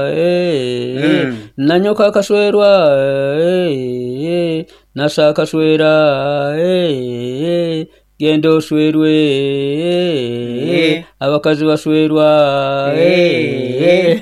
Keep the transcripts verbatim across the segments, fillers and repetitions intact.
Eh, Mm. Nanyoka akaswerwa, eh, nasa akaswera, eh, genda oswerwe, eh, Eh. abakazi baswerwa. Eh. eh.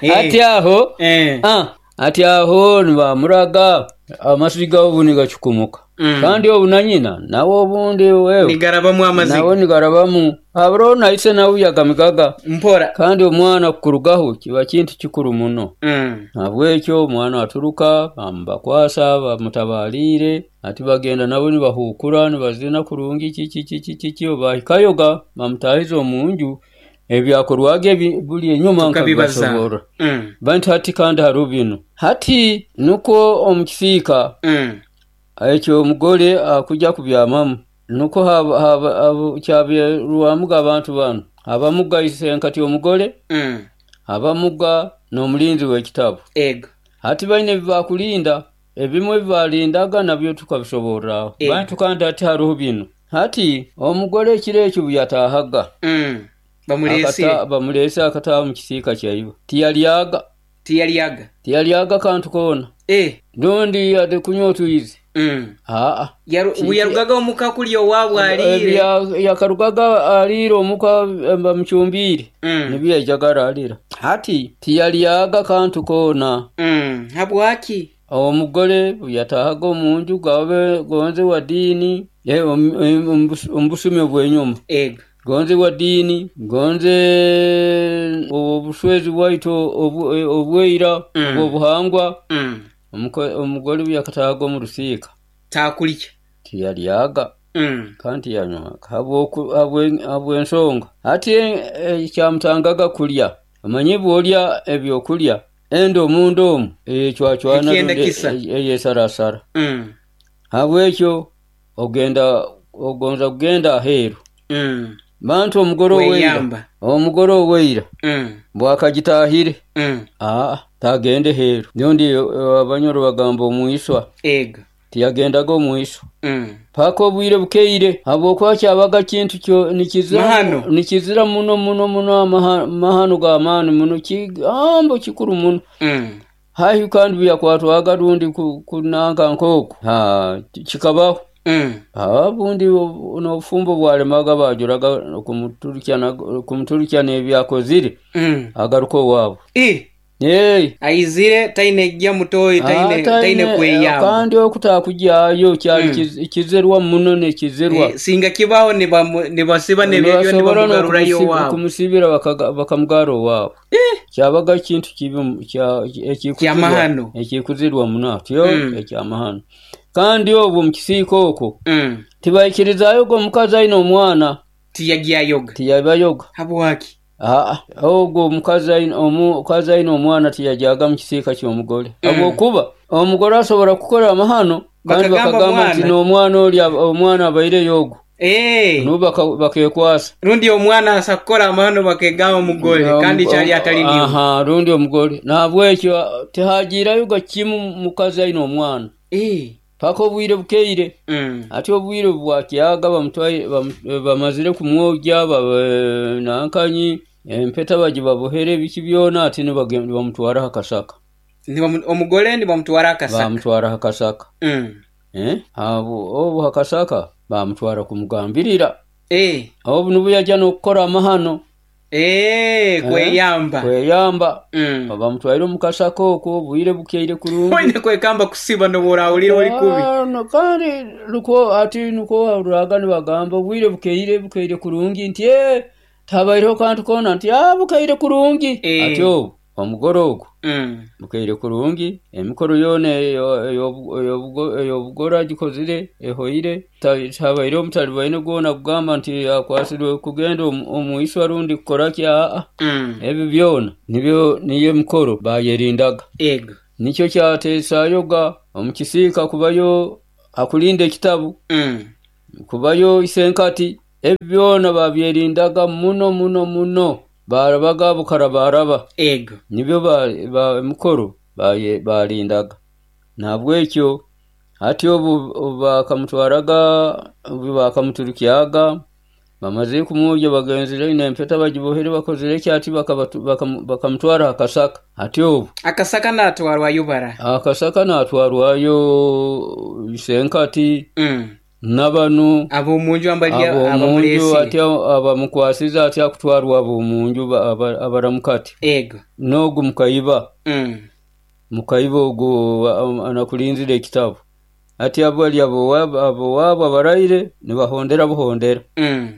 Eh. Ati aho Eh. ah, ati aho nibamuraga amasiga obu nigacukumuka. Mm. Kandi obu na nyina nawe obundi wewe Nigarabamu amaziga. nawe nigarabamu haburo naise nawe yagamigaga. Mpora. Kandi omwana kukurugaho kiba kintu kikuru muno. Mm. Nabwekyo omwana aturuka bamubakwasa bamutabaliire ati bagenda nabo nibahukura nibazina kurungi kiki kiki kiki bahikayoga bamutahiza omunju ebyakorwaga ebi buli enyuma Tukabibaza. nkabibasoborra. Mm. Bantu hati kandi hariho binu hati nukwo omu kisiika Mm. ekyo omugore akujja kubyamamu nukwo haba- haba- haba- kyabyerwamuga abantu banu abamuga isenkati omugore, Mm. abamuga n'omulinzi w'ekitabu. Ego. Hati baine ebibakulinda ebimwe ebibalindaga nabyo tukabisoborraho. Ego. Bantu kandi hati hariho binu hati omugore ekiro ekyo buyatahaga Mm. Bamuleesire. akata- bamuleese akataaha mu kisiika kyaiwe tiyalyaga. Tiyalyaga. Tiyalyaga kantu koona. Eh. Rundi yadde kunywa otwizi. Mm. Aa. Yaru- Ki- Yarugaga omuka kulya owaabwe aliire. Ebya- yakarugaga aliire omuka eh, bamucumbiire. Mm. Nibyo yaijaga aralira hati tiyalyaga kantu koona. Mm. Habwaki? Omugore yatahaga omunju gabe gonze wa diini eh, omu- omu- omu busumi obw'enyuma. Ego. Gonze wa diini gonze obushwezi bwaitu obu- eh, obweira. Mm. Obwobuhangwa. Mm. Omuko- omugore yakatahaga omu rusiika Taakulya. tiyalyaga Mm. kandi tiyanywaga habwoku- habwe- habw'ensonga hati eh, ekyamutangaga kulya omanyi bw'olya ebyokulya enda omunda omu eyecwacwana Ekyenda rundi kisa. e- eyesarasara. Mm. Habwekyo ogenda ogonza kugenda aheeru. Mm. Bantu omugore oweira Weyamba. omugore oweira Mm. bwakagitahire Mm. aa tagende heeru rundi eh, abanyoro bagamba omwiswa. Ego. Tiyagendaga omwiswa Mm. paka obwire bukeire habwokuba kyabaga kintu kyo nikizira Mahano. nikizira muno muno muno amaha- mahano g'amaani muno kigambo kikuru muno. Mm. Haihi kandi byakwatwaga rundi ku- kunanka nk'oku ha kikabaho. Mm. Ha, bundi obu- n'obufumbo bwalemaga bajuraga kumuturukya na- kumuturukya n'ebyakozire Mm. agaruka owaabo. Eh. Hey. Aizire taine ejja mutoyi taine taine kweyamba. Kandi okutakujyayo kyali Mm. kiz- kizirwa muno nekizirwa. Eh, singa kibaho nibamu- nibasiba nebyebyo Nibasobora nibamugarurayo n'okumusi- owaabo. kumusibira bakaga- bakamugara owaabo. Kyabaga kintu kibi mu- kya- ekikuzirwa- Kyamahano. ekikuzirwa muno atyo. Mm. Ekyamahano kandi obwo mu kisiika okwo Mm. tibaikirizaayo ogwo omukazi aine omwana. Tiyagyayoga. Tiyabayoga. Habwaki? Aa, ogwo omukazi aine omukazi aine omwana tiyajyaga mu kisiika ky'omugore. Mm. Habwokuba omugore asobora kukora amahano kandi Bakagamba bakagamba nti mwana. n'omwana oli omwana abaireyo ogwo. Eh. Nubo baka- bakekwasa. Rundi omwana asa kukora amahano bakegamba omugore kandi kyali atali niwe. Aha, rundi omugore nahabwekyo tihagiirayoga kimu mukazi aine omwana. Eh. Paka obwire bukeire. Mm. Ate obwire bwakyaga bamutwaire bamu- bamazire kumwogya ba- nankanyi empeta bagibabohere biki byona ate nibage- nibamutwara hakasaka. Nibamu- omugore nibamutwara akasaka. Bamutwara hakasaka. Mm. Eh? Abo obu hakasaka bamutwara kumugambirira. Eh. Obu nibwo yajya n'okukora amahano. Eh, kweyamba. Kweyamba. Mm. Bamutwaire omu kasaka okwo obwire bukeire kurungi. Oine kwekamba kusiba noborahulira oli kubi. Ah, no, kandi nukwo ati nukwo wahurraga nibagamba obwire bukeire bukeire kurungi nti "Eh, tahabaireho kantu koona nti "Ah, bukeire kurungi." Eh. Ati obu omugore ogwo Mm. bukeire kurungi emikoro yoona eyo- eyobu- eyobugo- ey'obugore agikozire ehoire Ta- tahabaireho omutalibaine gwona kugamba nti akwasirwe kugenda omu- omwiswa rundi kukora ki aa. Mm. Ebyo byona nibyo niyo emikoro bayerindaga. Ego. Nikyo kyateesayoga omu kisiika kubayo akulinda ekitabu. Mm. Kubayo isenkati ebyo byona babyerindaga muno muno muno barabaga bukara baraba. Ego. Nibyo ba- ba- emikoro baye- balindaga nahabwekyo hati obu obu bakamutwaraga obu bakamuturukyaga Bamazire kumwogya, bagenzire aine empeta bagibohere, bakozere ekyati, bakamutwara ha kasaka ati obu Akasaka natwarwayo bara? Akasaka natwarwayo isenkati Mm. nabanu Ab'omunju ambali ab'omunju abamuleesire. Ati abamukwasize ati akutwarwa ab'omunju abaramukati Ego. N'ogu mukaiba Mm. mukaiba ogu anakulinzire ekitabu ati abo bali abowaabo abaraire nibahondera buhondera. Mm.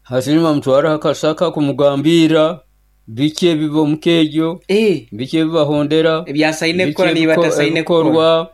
Hati nibamutwara ha kasaka kumugambira biki ebiba omuka egyo, Eh. biki ebibahondera, Ebyasaine biki kukora niba ebiko- batasaine kukora. Ebikorwa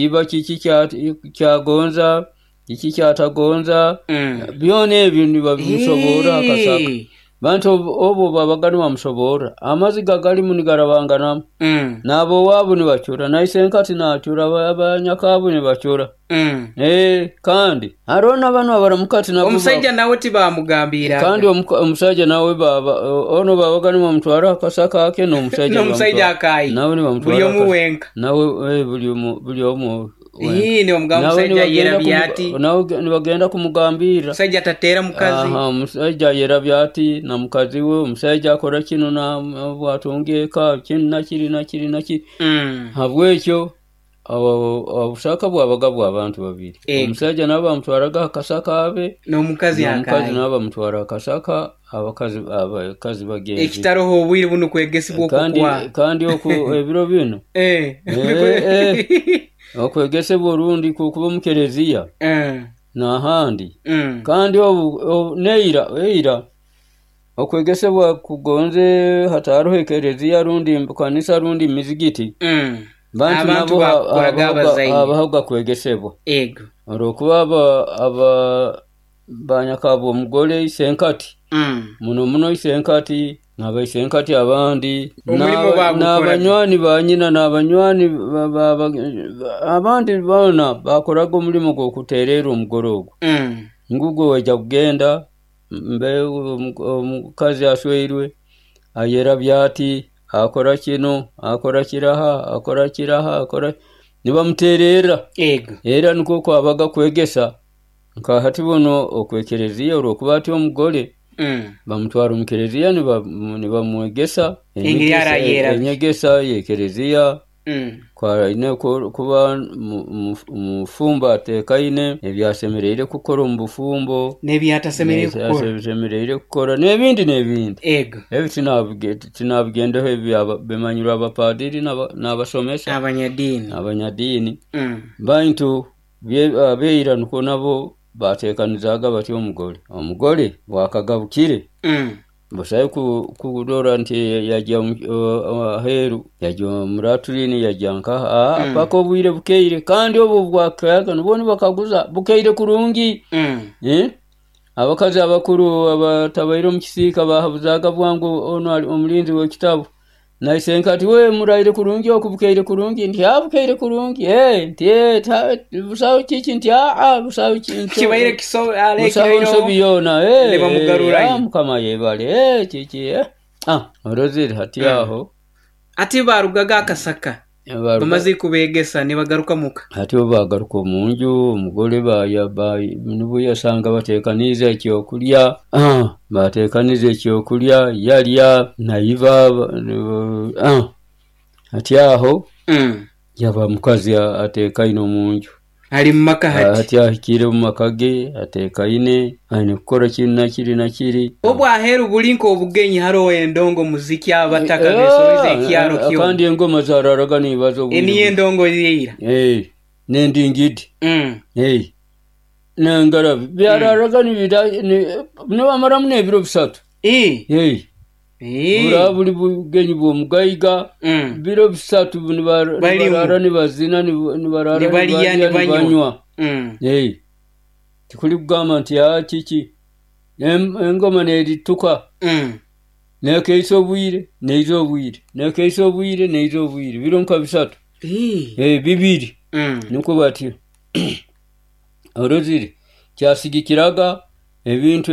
iba kiki kya- kyagonza, kiki kyatagonza, Mm. byona ebyo nibabimusoborra akasaka. Eh. Bantu obu babaga nibamusoborra, amaziga galimu nigarabanganamu. Mm. N'ab'owaabo nibacura, na isenkati naacura, abanyakaabo nibacura. Mm. Eh, kandi haroho n'abanu abaramukati nabo. Omusaija nawe tibamugambiraga? Kandi omuka- omusaija nawe baba ono babaga nibamutwara akasaka ake n'omusaija. N'omusaija nibamutwara- akayi. Nawe nibamutwara Buli omu akasaka. wenka. Nawe eh, buli omu buli omu wenka. Ii, nibamugamba Nawe omusaija nibagenda yerabya kumu- ati. Nawe nibagenda kumugambirra. Omusaija atateera mukazi. Aha, omusaija ayerabya ati na mukazi we, omusaija akora kinu na bwatunga eka kinu nakiri nakiri nakiri. Mm. Habwekyo abo- obusaka bwabaga bw'abantu babiri. Ego. Omusaija nabo bamutwaraga akasaka abe N'omukazi n'omukazi akayi. nabo bamutwara akasaka, abakazi abakazi bagenzi. Ekitaroho obwire bunu kwegesibwa Kandi okukwa. kandi oku ebiro bino Eh. Eh, eh. Okwegesebwa orundi kukuba omu kereziya Eh. n'ahandi. Mm. Kandi obu obu- neira eira okwegesebwa kugonze hataroho ekereziya rundi kanisa rundi mizigiti, Mm. bantu Abantu nabo ha- bakoraga habahoga abazaire. habahoga kwegesebwa. Ego. Olwokuba aba aba banyakabwa omugole isenkati, Mm. muno muno isenkati n'abaisenkati abandi Omulimo n'aba- bagukoraga. N'abanywani ba nyina n'abanywani ba- ba- ba- abandi boona bakoraga omulimo gw'okuteerera omugole ogwo. Mm. Ngugwo waija kugenda mbe omu- omukazi asweirwe ayerabya ati, akora kino, akora kiraha, akora kiraha, akora nibamuteererra. Ego. Era nikwo kwabaga kwegesa nka hati buno okwekereziya olwokuba ati omugole Mm. bamutwara omu kereziya niba- nibamwegesa Engeri enyegesa- arayerabya. Enyegesa y'ekereziya Mm. kwaine ku- kuba mu- mu- mufumbo ateekaine ebyasemereire kukora omu bufumbo N'ebyatasemereire kukora. n'ebyasemereire kukora n'ebindi n'ebindi. Ego. Ebi tinabige- tinabigendeho ebi aba- bimanyirwe abapadiri n'aba- n'abasomesa. Abanyadiini. Abanyadiini. Mm. Bantu bye- abeira nukwo nabo bateekanizaaga bati omugole omugole bwakagabukire Mm. busabe ku- kurora nti yajya omu- o- aheeru, yajya omu latrine, yajya nkaha ah, Mm. paka obwire bukeire, kandi obu bwakayaga nubwo nibakaguza bukeire kurungi. Mm. Eh? Abakazi abakuru abatabaire omu kisiika bahabuzaaga bwangu ono ali omulinzi w'ekitabu naisenka ati, "We muraire kurungi oku, bukeire kurungi?" Nti, "Ah, bukeire kurungi." Eh, nti, "Eh, ta- busaho kiki?" Nti, "Aa, busaho ki- Kibaire kiso busaho alekireyo. nsobi yoona." Eh, Nibamugarurayo. ah, mukama yebale. Eh, kiki eh. Ah, orozire hati Mm. aho. Ati barugaga akasaka. Baruga- Bamaze kubegesa nibagaruka muka. Ati bo bagaruka omunju, omugole baya ba- nibwo yasanga bateekanize ekyokulya. Ah, bateekanize ekyokulya, yalya naiba ah. Ati aho Mm. yaba mukazi a- ateekaine omunju. Ali mu maka hati. Hati ahikire omu maka ge ateekaine, aine kukora kiri nakiri nakiri. Obwo aheeru buli nk'obugenyi, haroho endongo, muziki, abataka besoroize ekyaro Ah, kyona. Kandi engoma zararaga nibaza obwire. Eniyo endongo yeira. Eh, n'endingidi. Mm. Hey. Nengarabi byararaga nibira ni- nibamaramu n'ebiro bisatu. Eh. Hey. Eh. Bura buli bugenyi bw'omugaiga, Mm. biro bisatu nibar- Balimu. nibarara nibazina, nib- nibarara Nibalya, nibalya, nibanywa. nibanywa. Mm. Hey. Tikuli kugamba nti a kiki. Em- engoma nerituka Mm. nekeisa obwire neiza obwire nekeisa obwire neiza obwire biro nka bisatu. Eh. Hey, bibiri. Mm. Nukwo batyo orozire kyasigikiraga ebintu.